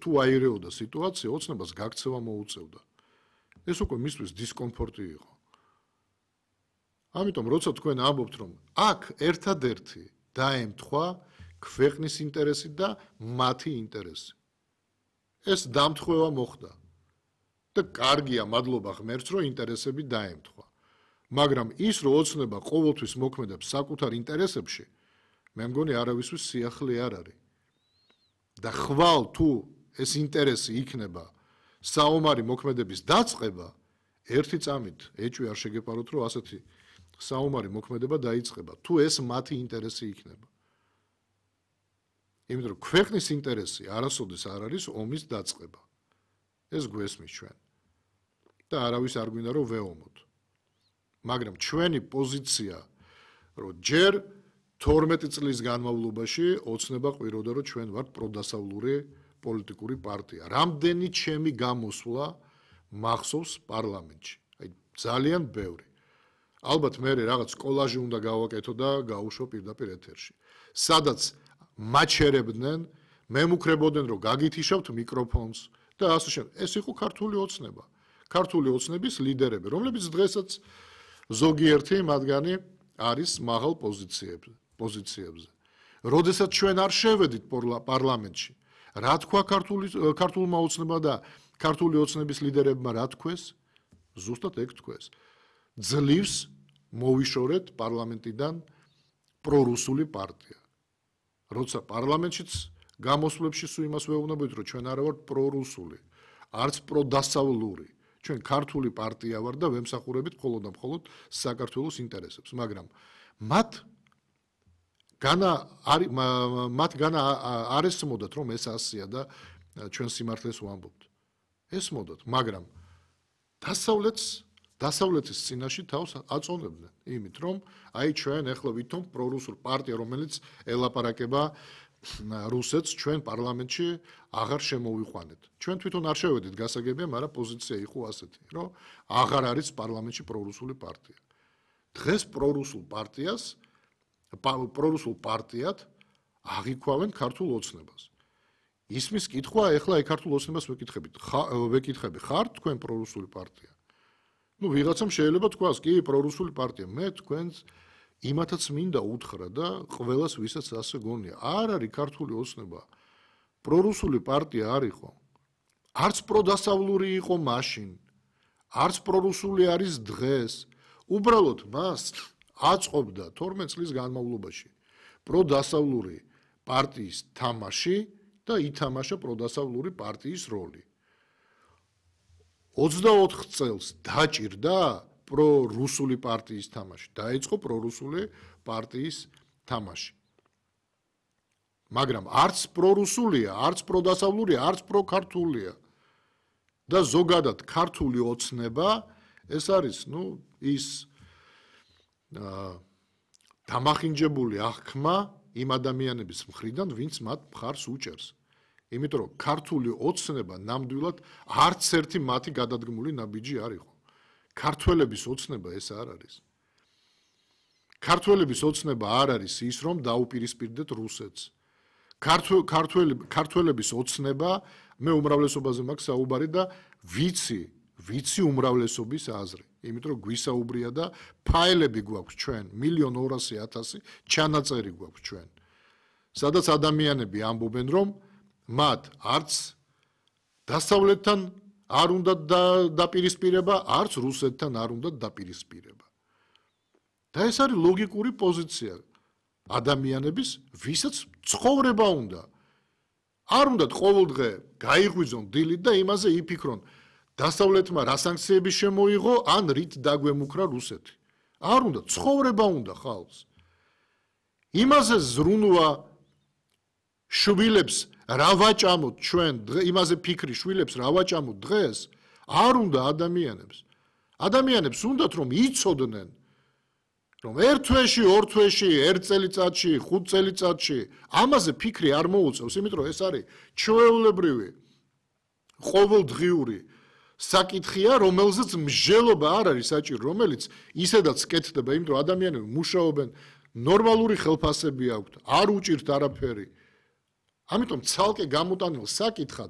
თუ აირეოდა სიტუაცია, ოცნებას გაქცევა მოუწევდა. ეს უკვე მისთვის დისკომფორტი იყო. ამიტომ როცა თქვენ ამბობთ, რომ აქ ერთადერთი დაემთხვა ქვეყნის ინტერესი და მათი ინტერესი. ეს დამთხევა მოხდა. და კარგია, მადლობა ღმერთს, რომ ინტერესები დაემთხვა. მაგრამ ის, რომ ოცნება ყოველთვის მოქმედებს საკუთარ ინტერესებში, მე მგონი არავისთვის სიახლე არ არის. და ხვალ თუ ეს ინტერესი იქნება საომარი მოქმედების დაწყება, ერთი წამით ეჭვი არ შეგეპაროთ, რომ ასეთი საომარი მოქმედება დაიწყება, თუ ეს მათი ინტერესი იქნება. იმიტომ რომ ქვეყნის ინტერესი არასოდეს არ არის ომის დაწყება. ეს გვესმის ჩვენ. და არავის არ გვინდა რომ ვეომოთ. მაგრამ ჩვენი პოზიცია, რომ ჯერ 12 წლის განმავლობაში ოცნება ყვიროდა, რომ ჩვენ ვართ პროდასავლური პოლიტიკური პარტია. რამდენი ჩემი გამოსვლა მახსოვს პარლამენტში. აი ძალიან ბევრი. ალბათ მე რაღაც კოლაჟი უნდა გავაკეთო და გავუშვა პირდაპირ ეთერში. სადაც მაჩერებდნენ, მემუქრებოდნენ, რომ გაგითიშავთ მიკროფონს და ასე შემდეგ. ეს იყო ქართული ოცნება. ქართული ოცნების ლიდერები, რომლებიც დღესაც ზოგიერთი მათგანი არის მაღალ პოზიციებზე. როდესაც ჩვენ არ შევედით პარლამენტში, რა თქვა ქართულმა ოცნებმა და ქართული ოცნების ლიდერებმა რა თქვეს? ზუსტად ეგ თქვეს. ძლივს მოვიშორეთ პარლამენტიდან პრორუსული პარტია. როცა პარლამენტშიც გამოსვლებში სულ იმას ვეუბნებით, რომ ჩვენ არა ვართ პრორუსული, არც პროდასავლური. ჩვენ ქართული პარტია ვარ და ვემსახურებით მხოლოდ და მხოლოდ საქართველოს ინტერესებს, მაგრამ მათ განა არ ესმოდათ, რომ ეს ასია და ჩვენ სიმართლეს ვამბობთ. ესმოდათ, მაგრამ დასავლეთის წინაშე თავს აწონებდნენ იმით, რომ აი ჩვენ ახლა ვითომ პრორუსულ პარტია, რომელიც ელაპარაკება რუსეთს ჩვენ პარლამენტში აღარ შემოვიყვანეთ. ჩვენ თვითონ არ შევედით გასაგებია, მაგრამ პოზიცია იყო ასეთი, რომ აღარ არის პარლამენტში პრორუსული პარტია. დღეს პრორუსულ პარტიად აღიქვავენ ქართულ ოცნებას. ისმის კითხვა, ეხლა აი ქართულ ოცნებას ვეკითხები, ხართ თქვენ პრორუსული პარტია? ნუ ვიღაცამ შეიძლება თქვას, კი, პრორუსული პარტია. მე თქვენს იმათაც მინდა უთხრა და ყველას ვისაც ასე გონია. არ არის ქართული ოცნება პრორუსული პარტია არ იყო. არც პროდასავლური იყო მაშინ, არც პრორუსული არის დღეს. უბრალოდ მას აწყობდა 12 წლის განმავლობაში პროდასავლური პარტიის თამაში და ითამაშა პროდასავლური პარტიის როლი. 24 წელს დაჭირდა პრორუსული პარტიის თამაში. დაიწყო პრორუსული პარტიის თამაში. მაგრამ არც პრორუსულია, არც პროდასავლურია, არც პროქართულია. და ზოგადად ქართული ოცნება ეს არის, ის დამახინჯებული აღქმა იმ ადამიანების მხრიდან, ვინც მათ მხარს უჭერს. იმიტომ რომ ქართული ოცნება ნამდვილად არც ერთი მათი გადადგმული ნაბიჯი არ იყო. ქართველების ოცნება ეს არ არის. ქართველების ოცნება არ არის ის, რომ დაუპირისპირდეთ რუსეთს. ქართველების ოცნება, მე უმრავლესობაზე მაქვს საუბარი და ვიცი უმრავლესობის აზრი. იმიტომ რომ გვისაუბრია და ფაილები გვაქვს ჩვენ 1,200,000 ჩანაწერი გვაქვს ჩვენ. სადაც ადამიანები ამბობენ, რომ მათ არც დასავლეთთან არ უნდა დაპირისპირება, არც რუსეთთან არ უნდა დაპირისპირება. და ეს არის ლოგიკური პოზიცია ადამიანების, ვისაც ცხოვრება უნდა. არ უნდათ ყოველდღე გაიღვიძონ დილით და იმაზე იფიქრონ, დასავლეთმა რა სანქციები შემოიღო, ან რით დაგვემუქრა რუსეთი. არ უნდა, ცხოვრება უნდა ხალხს. იმაზე ზრუნვა შვილებს რა ვაჭამოთ ჩვენ, იმაზე ფიქრი შვილებს რა ვაჭამოთ დღეს, არ უნდა ადამიანებს. ადამიანებს უნდათ რომ იცოდნენ, რომ ერთ თვეში, ორ თვეში, ერთ წელიწადში, 5 წელიწადში ამაზე ფიქრი არ მოუწევს, იმიტომ რომ ეს არის ჩვეულებრივი ყოველდღიური საკითხია, რომელზეც მსჯელობა არ არის საჭირო, რომელიც ისედაც კეთდება, იმიტომ რომ ადამიანები მუშაობენ, ნორმალური ხელფასები აქვთ, არ უჭირთ არაფერი. ამიტომ ცალკე გამოტანილ საკითხად